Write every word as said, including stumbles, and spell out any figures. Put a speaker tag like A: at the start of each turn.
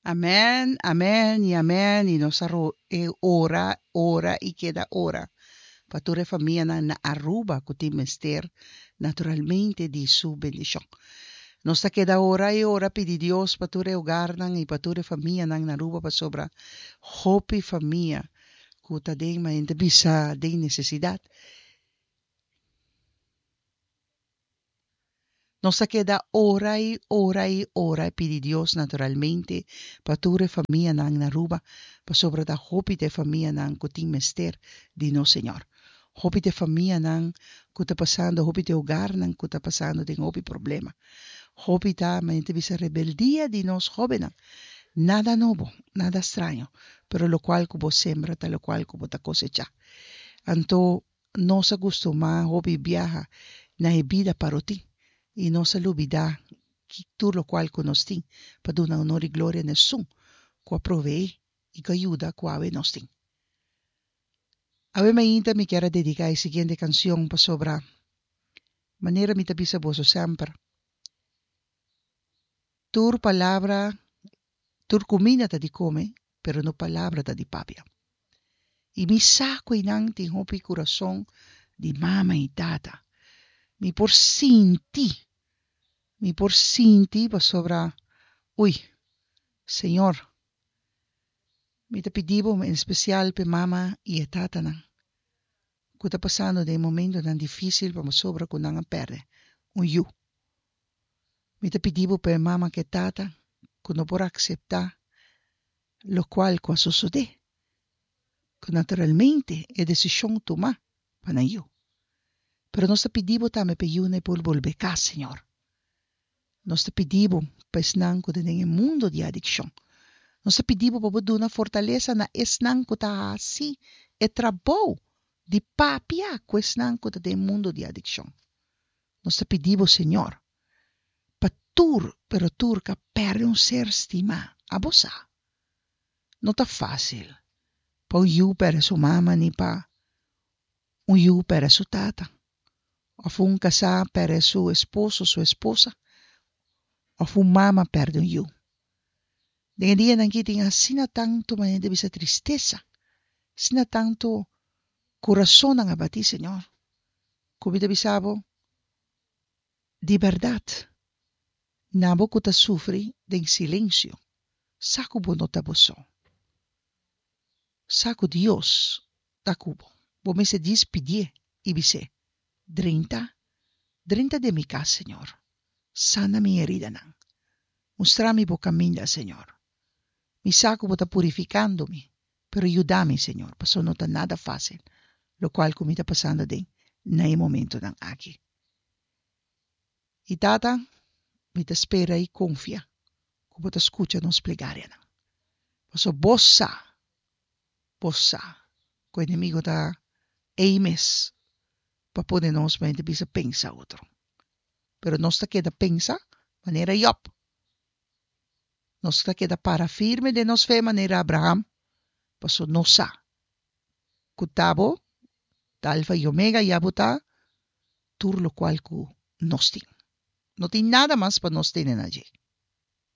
A: Amen, amen y amen y nos a ora, ora y keda ora pa tur e famianan na Aruba cu tin mester naturalmente di su bendicion. Nos ta keda ora y ora pidi Dios pa tur e hogarnan y pa tur e famianan na Aruba pasobra hopi famia cu ta den manera bisa den necesidad. Nos a keda ora y ora y ora y pidi Dios naturalmente pa tur e famianan na Aruba, pasobra ta hopi ta e famianan cu tin mester di nos Señor. Hopi ta e famianan cu ta pasando, hopi ta e hogarnan cu ta pasando den hopi problema. Hopi ta, manera ta bisa, rebeldia di nos hobennan. Nada nobo, nada straño, pero locual cu bo sembra ta locual cu bo ta cosecha. Anto nos a gustumá hopi biaha na e bida parotin i nos a lubidá ki tur lokual ku nos tin pa duna honor i gloria na esun ku a proveé i ku a yuda ku awe nos tin. Awe mainta mi kier a dediká e siguiente kansion pasobra manera mi ta bisa boso semper, tur palabra, tur kuminda ta di kome, pero no palabra ta di papia. I mi sa ku einan tin hopi kurason di mama i tata. Mi por sinti, mi por sinti pasobra, ui, Señor, mi ta pidi bo en spesial p'e mama i e tatanan ku ta pasando den momentonan difísil pasobra ku nan a pèrdè un yu. Mi ta pidi bo p'e mama ku e tata ku no por akseptá lokual ku a sosodé, ku naturalmente e desishon tumá pa nan yu. Pero nos ta pidi bo tambe p'e yunan e por bolbe kas, Señor. Nos ta pidi bo pa esnan ku ta den e mundu di adikshon. Nos ta pidi bo pa bo duna fortalesa na esnan ku ta hasi e trabou di papia ku esnan ku ta den e mundu di adikshon. Nos ta pidi bo, Señor, pa tur, pero tur k'a pèrdè un ser stimá. Abo sa, no ta fásil pa un yu pèrdè su mama ni pa un yu pèrdè su tata, òf un kasá pèrdè su esposo, su esposa, òf un mama pèrdè un yu. Den e dianan aki tin asina tantu manera di bisa tristesa, asina tantu kurasonnan a batí, Señor, ku mi ta bisa bo, di bèrdat, na bo ku ta sufri den silensio, sa ku bo no ta bo so. Sa ku Dios ta ku bo. Bo mester djis pidié i bis'é, Drenta, drenta den mi kas, Señor. Sana mi heridanan. Mustra mi bo kaminda, Señor. Mi sa ku bo ta purifikando mi, pero yuda mi, Señor, pasobra no ta nada fásil lokual ku mi ta pasando aden na e momentonan aki. I Tata, mi ta spera i konfia ku bo ta skucha nos plegarianan, pasobra bo sa, bo sa ku enemigo ta ei mes pa pone nos mente bisa pensa otro. Pero nos ta keda pensa manera Job. Nos ta keda para firme den nos fe manera Abraham, pasobra nos sa ku ta bo ta Alfa i Omega i abo ta tur lokual ku nos tin. No tin nada mas pa nos tene na dje.